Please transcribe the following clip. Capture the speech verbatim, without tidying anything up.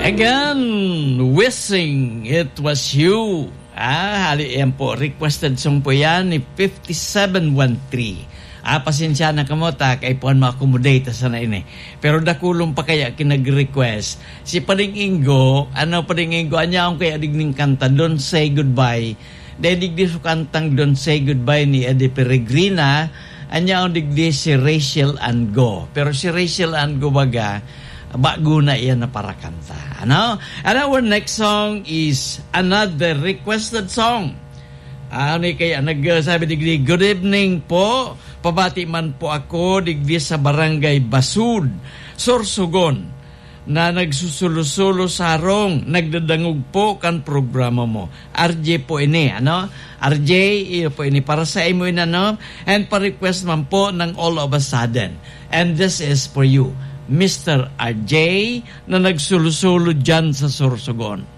Again, wishing it was you. Ah, hali yan po. Requested song po yan ni fifty-seven one three. Ah, pasensya na kamo ta, kay puan ma-accommodate sana ini. Pero dakulong pa kaya kinag-request. Si Pading Ingo, ano Pading Ingo, anya akong kaya digning kanta, Don't Say Goodbye. Dahil digdi sa kantang Don't Say Goodbye ni Eddie Peregrina, anya akong digdi si Rachel Ango. Pero si Rachel Ango baga, bago na iyan na parakanta. Ano? And our next song is another requested song. Ano kaya nagsabi digdi, "Good evening po. Pabati man po ako digdi sa Barangay Basud, Sorsogon, na nagsusulo-sulo sa harong, nagdadangog po kan programa mo." R J po ini, ano? R J, iyo po ini. Para sa imo ini, ano? And pa-request man po ng All of a Sudden. And this is for you, Mister R J, na nagsulo-sulo dyan sa Sorsogon.